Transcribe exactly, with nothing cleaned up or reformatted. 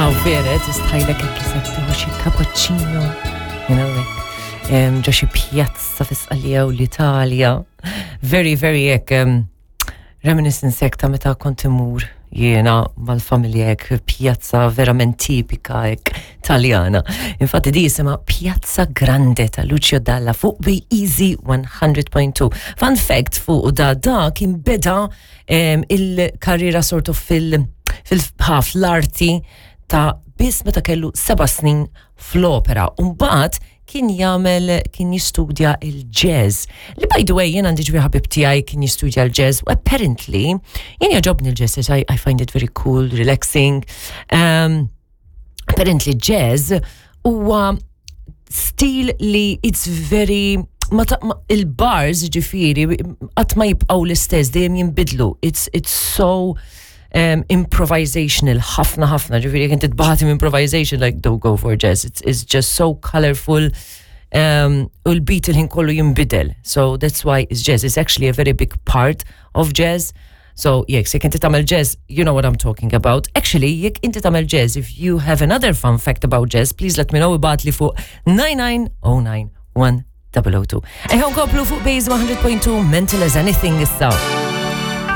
Aw vera, tistħajlek hekk qisek tieħu xi cappuccino, you know, like, um, ġo xi pjazza fi Sqallija u l-Italja. Very, very hekk, um, reminiscence hekk ta' meta kont imur jiena mal-familja hekk pjazza verament tipika hekk Taljana. Infatti di jisimha Piazza Grande ta' Lucio Dalla fuq Be Easy one hundred point two. Fun fact fuq da da kien beda um, il-karriera sort of fil fil-ħaf l-arti ta' biss meta kellu seba' snin fl-opera. Umbagħad kien jagħmel, kien jistudja il-jazz. Li, by the way, jien għandi ġbi ħabib tiegħi kien jistudja l-jazz u apparently jien jogħġobni l-jazz, I, I find it very cool, relaxing. Um, apparently jazz huwa stil li it's very ma ta, ma, il-bars ġifiri qatt ma jibqgħu l-istess, dejjem jinbidlu. It's, it's so um, improvisational, ħafna ħafna, ġifiri jekk inti tbati improvisation, like, don't go for jazz. It's, it's just so colorful um, u l-beat il-ħin kollu jinbidel. So that's why it's jazz. It's actually a very big part of jazz. So, jekk, jekk inti tagħmel jazz, you know what I'm talking about. Actually, jekk inti tagħmel jazz, if you have another fun fact about jazz, please let me know, ibgħatli fuq nine nine zero nine one zero zero two. Eħe, nkomplu fuq Base one hundred point two, Mental as Anything issa.